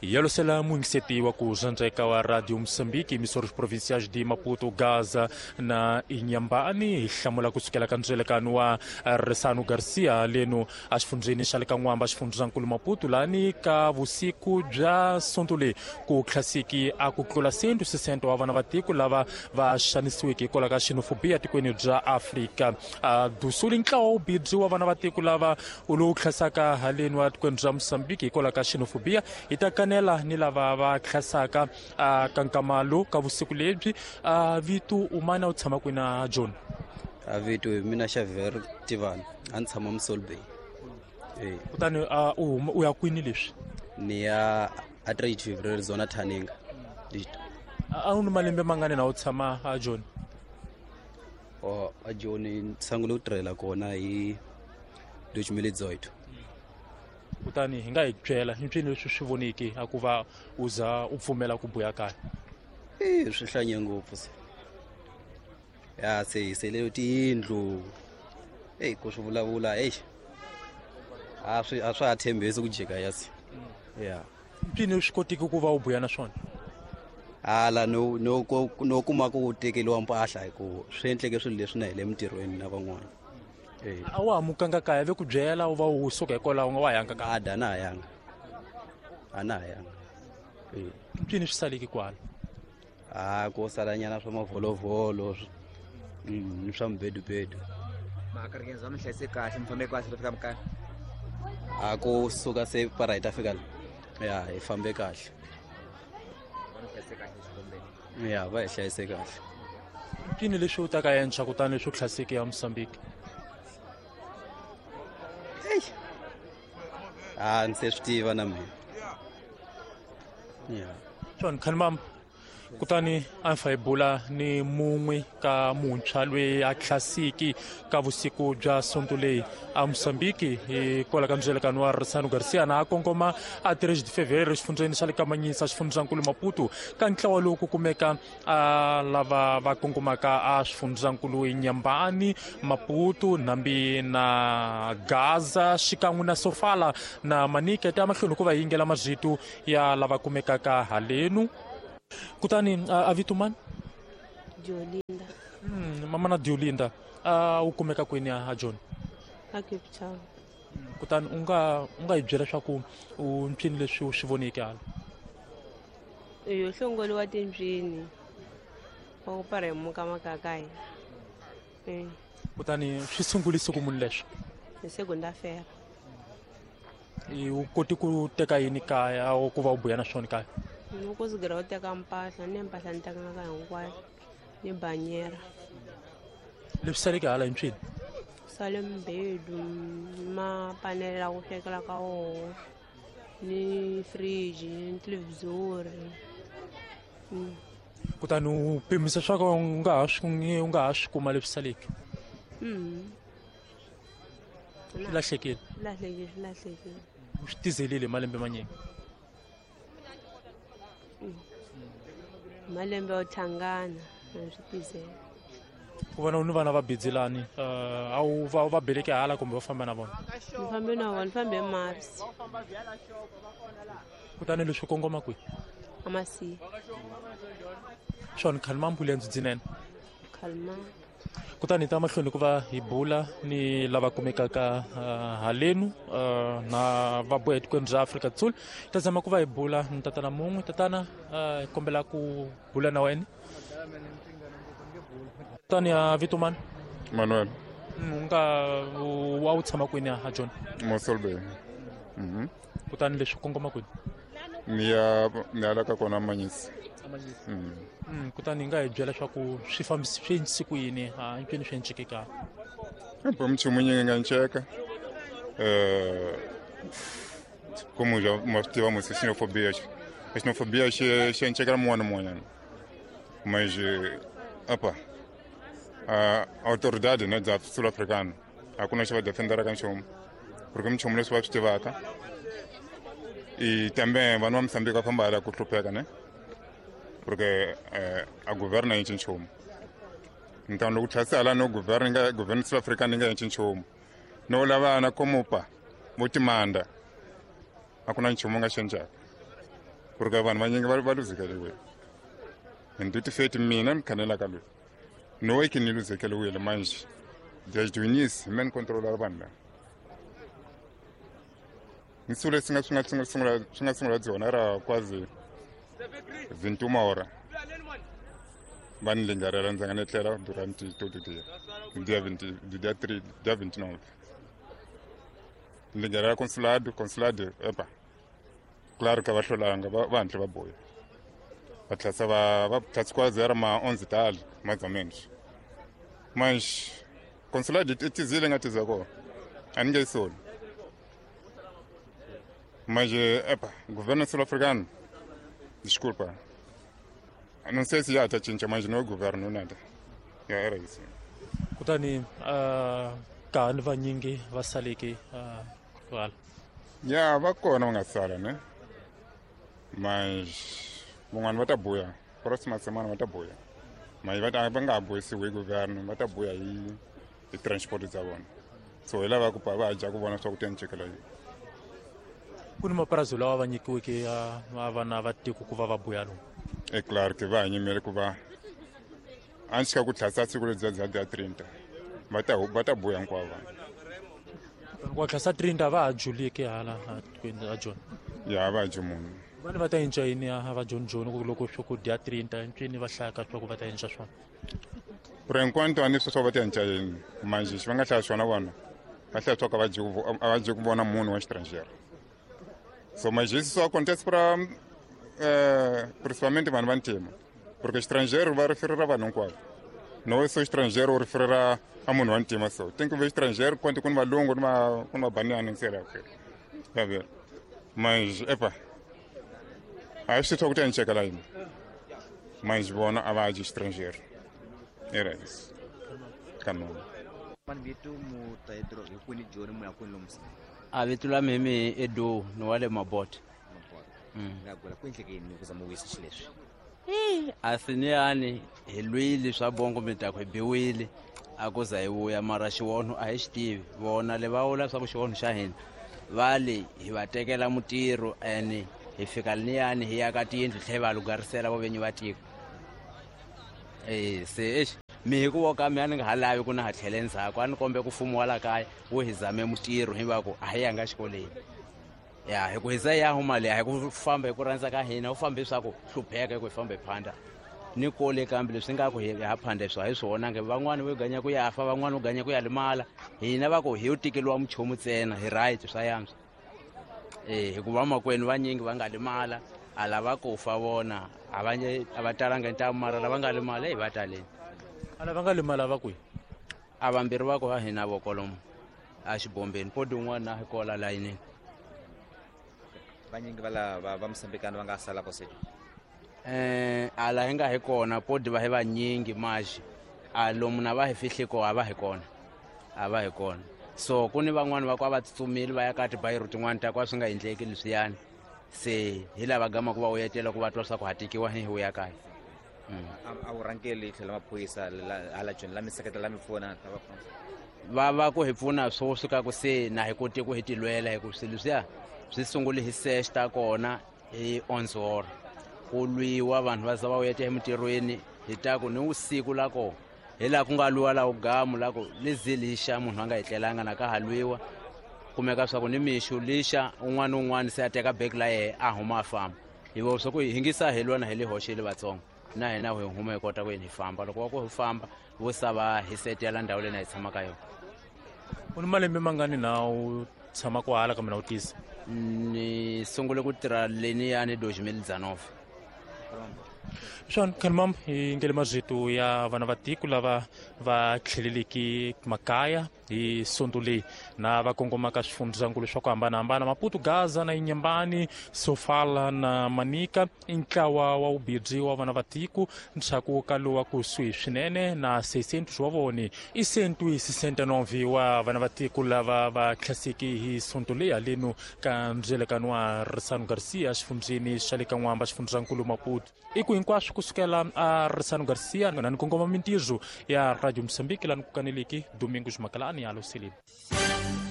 Yalosela muyingiseti wa ku zandzeka wa Radio Moçambique, emissoras provinciais de Maputo, Gaza na Inhambane, hi hlamula kusukela ka ndzelekano wa Resano Garcia leno exifundzheni xa le ka N'wamba, xifundzankulu Maputo, lani ka vusiku bya Sonto leyi ku tlhasiki a ku tlula 160 wa vana va tiko lava va xanisiweke hikwalaho ka xenofobia tikweni bya Afrika do Sul. Ntlawa wu bidzi wa vana va tiko lava lowu tlhasaka haleni wa tikweni bya Mozambique hikwalaho ka xenofobia, hi ta kanela ni lava va tlhasaka ka nkama lowu ka vusiku lebyi. Vito umana u tshama kwini a John? A vito hi mina Xavier Tivani, a ni tshama Mossel Bay. Kutani u ya kwini leswi? Ni ya a 3 February zona Thaninga. A wu ni malembe mangani na u tshama a John? O a John ni sungule ku tirhela kona hi 2018. Kutani hi nga hi byela hi mpfini leswi swi voniki a ku va u za u pfumela ku buya kaya? Swi hlanye ngopfu se. Ya se hi sele tiyindlu. Ku swi vulavula, A swi a swa ha tshembisi ku jika ya se. Ya. Mpfini swi kotiki ku va u buya na swona? Hala no no no kuma ku tekeriwa mpahla hi ku swi endleke swilo leswi na hi le mintirhweni na van'wana. A wa ha mukanga kaya ve ku byela u va u suka hikwalaho u nga wa yanga kaya? A na ha yanga. A na ha yanga. Mpfini swi saleki kwala? A ko salanyana swa mavholovholo ni swa mibedubedu. Makaringenza mi hlayise kahle, mi fambe kahle fika makaya? A ku suka se para hi ta fika la. Ya, hi fambe kahle. Ya, va hi hlayise kahle. Mpfini leswi u ta ka entshwa kutani leswi u tlhaseke ya Mozambique? A ni se swi tiva na mina. Ya. John Khanimam, kutani a fa hi bula ni mun'we ka muntshwa loyi a tlhasiki ka vusiku bya Sonto leyi a Mozambique hikwalaho ka ndzelekano wa Risano Garcia na a kongoma a 3 de Fevereiro exifundzheni xa le Kamanyisa, xifundzankulu Maputo, ka ntlawa lowu ku kumeka a lava va kongomaka a swifundzankulu Inhambane, Maputo, Nhambi na Gaza xikan'we na Sofala na Manica. Ta mahlweni ku va yingela mazito ya lava kumekaka halenu. Kutani a vito mani? Diolinda. Mama na Diolinda, u kumeka kwini a John? A Cape Town. Kutani u nga hi byela leswaku u mpfini leswi u swi voneke hala? Yo hlongoliwa timbyini wa ku para hi muka makaka hina. Kutani swi sungulise ku munhu leswi? Hi segunda-feira. U koti ku teka yini kaya ku va u buya na swona kaya? Ni ku sigira u teka mpahla, ni mpahla ni tekanga ka hinkwayo, ni banyera. Leswi saleke hala hi mpfini? Sale mbedu, mapanele la ku swekela ka wona, ni fridge, ni televhizori. Kutani u pimisa swa ku u nga ha swi kuma leswi saleke? Swi lahlekile? Swi lahlekile, swi lahlekile. U swi tizelile hi malembe manyingi? Malembe yo tlhangana, a swi tizela. Ku vona u ni vana va bidzelani, a wu va beleke hala kumbe va famba na vona? Ni fambe na vona, ni fambe Mars. Kutani leswi kongoma kwihi? A Masiya. Swona khalima mbulu ya ndzidzinene? Khalima. Kutani hi ta mahlweni ku va hi bula ni lava kumekaka halenu na va boha etikweni bya Afrika Dzonga. Ta zama ku va hi bula ni tatana mun'we. Tatana, hi kombela ku bula na wena. Tani ya vito mani? Manuel. U nga wa u tshama kwini a John? Mossel Bay. Kutani leswi kongoma kwini? Ni ya ni ala ka kona Manyisi. Kutani hi nga hi byela leswaku swi fambisi swi endlise ku yini, a hinkwenu swi enceke ka? Bo mchumu nyingi nga nceka. Como já mas tivemos xenofobia. A xenofobia xi encekela mun'wana na mun'wanyana. Mas apa a autoridade, né, da sul-africana a ku na xi va defenderaka nchumu, porque minchumu leswi va swi tivaka. E também vanhu va Mozambique va famba hala ku hlupheka, né? Porque a governo yi nchumu. Então loko tlhasi hala no governo nga governo sul-africana yi nga endli nchumu. No lava na komupa vo timanda a ku na nchumu nga xi endlaka. Porque vanhu vanyingi va luzekeliwile. And ti feti mina ni khanelaka loyi no ke ni luzekeliwile manje desde o início me ni controlar vanhu lava ni sule swi nga sungula byona ra quase 21 hora va ni lingarela ndzi nga ni etlela durante todo dia dia 20 dia 3 dia 29 lingarela consulado epa claro que va hlolanga va hantle va boya va tlhasa va tlhasa quase era ma 11 tal mais ou menos mas consulado i tizile nga tiza kona a ni nge yi soli. Mas, epa, governo sul-africano, desculpa, não sei se já está cinca, mas não é governo nada. Já era isso. Kutani, ka ni vanyingi va saleke kwala. Ya, va kona va nga sala, né? Mas van'wana va ta buya, próxima semana va ta buya. Mas va nga ha buyisiwi hi governo, va ta buya hi transport za vona. So hi lava ku pa va dya ku vona swa ku ta ncikela yini. Ku ni mapurasi lawa va nyikiweke ya vana va tiko ku va va buya lomu. É claro que va yimele ku va antes ka ku tlhasa siku lebyiya bya dia 30 va ta buya hinkwavo vanhu. Ku tlhasa 30 va ha juliki hala a Joni. Ya va dyi munhu. Vanhu va ta cinca yini a va Joni Joni ku loko swa ku dia 30 ncini va hlaya swa ku va ta cinca swona. Por enquanto a ni swa va ta cinca yini manje xi va nga hlaya swona vona va hlaya swa ku a va dyi ku vona munhu wa xitranjero. So mas isso só acontece para principalmente vanhu va ntima porque estrangeiro va referir vanhu hinkwavo no só estrangeiro referir a munhu wa ntima so tem que ver estrangeiro quanto ku ni valungu ku ni vabaniana sei lá o quê tá vendo mas epa a swi twa ku ta nceka yini mas vona a va dyi estrangeiro era isso kanona. A vito la mimi Edu ni wa le Mabota. A siniyani hi lwile swa bongo mi ta ku hi biwile a ku za hi vuya mara xivono a hi xi tivi vona le va vula swa ku xivono xa hina va le hi va tekela mutirho ene hi fika liniyani hi ya ka tiyindlu tlhe va lugarisela vo venyi va tiko. Se exi mi hi ku voka mi a ni nga ha lavi ku na ha tlhele ndzhaku a ni kombe ku fumo wa la kaya wo hi zame mutirho hi va ku a hi yanga xikolweni. Ya hi ku hi za ya huma le hi ku famba hi ku rhandza ka hina u fambe swa ku hlupheka hi ku hi famba hi phanda ni kole kambe leswi nga ku hi ha phanda swa hi swona nge van'wani vo ganya ku ya fa van'wani vo ganya ku ya limala hina va ku hi yo tikeliwa muchomu ntsena hi right swa yantswa. Hikuva makwenu vanyingi va nga limala a lava ku fa vona a va talanga ntamu mara lava nga limala hi va taleni. A lava nga limala va kwihi? A vambirhi va ku va hina vo kolomo a xibombeni podi un'wana na hi kola layinini. Vanyingi va lava va Mosambikana va nga sala ko sejo. A la hi nga hi kona podi va hi vanyingi maxi a lomu na va hi fihli ko a va hi kona. A va hi kona. So ku ni van'wani va ku a va tsutsumile va ya ka tibayiro tin'wani ta ku a swi nga endleki leswiyani. Se hi lava gama ku va uyetela ku va twa swa ku hatikiwa hi vuya kaya. A wu rhangeli tlhelo maphorisa hala Joni la mi seketela la mi pfuna va pfuna. Va va ku hi pfuna swoswi ka ku se na hi koti ku hi tilwela hi ku swilo leswiya swi sungule hi sex ta kona hi 11 ku lwiwa vanhu va za va uyeta emitirhweni hi ta ku ni vusiku la kona hi laha ku nga lwiwa la gamu la ku lizi lixa munhu a nga etlelanga na ka ha lwiwa kumeka swa ku ni mixo lixa un'wana na un'wana se a teka bag la yehe a huma a famba hi vo swa ku hi hingisa hi lwa na hi le hoxile vatsongo na hina hi huma hi kota ku yini hi famba loko va ku hi famba vo sava hi setela ndhawu leyi na hi tshama ka yona. U ni malembe mangani na u tshama kwahala kambe na u tisa? Ni sungule ku tirha leniyani 2019. Swona khanimam hi ngele mazito ya vana va tiko lava va tlheleleke makaya hi sonto leyi na va kongomaka swifundzakulu swa ku hambanahambana Maputo, Gaza na Inhambane, Sofala na Manica i ntlawa wa vubirhi wa vana va tiko ndzhaku ka lowa kusuhi swinene na 600 wa vona i 169 wa vana va tiko lava va tlhaseke hi sonto leyi haleno ka ndzelekano wa Risano Garcia xifundzeni xa le ka N'wamba xifundzankulu Maputo. I ku hinkwaswo kusukela a Risano Garcia na ni kongoma mintirho ya Radio Mozambique lani ku kaneleki Domingos Makalani ya Luseleni.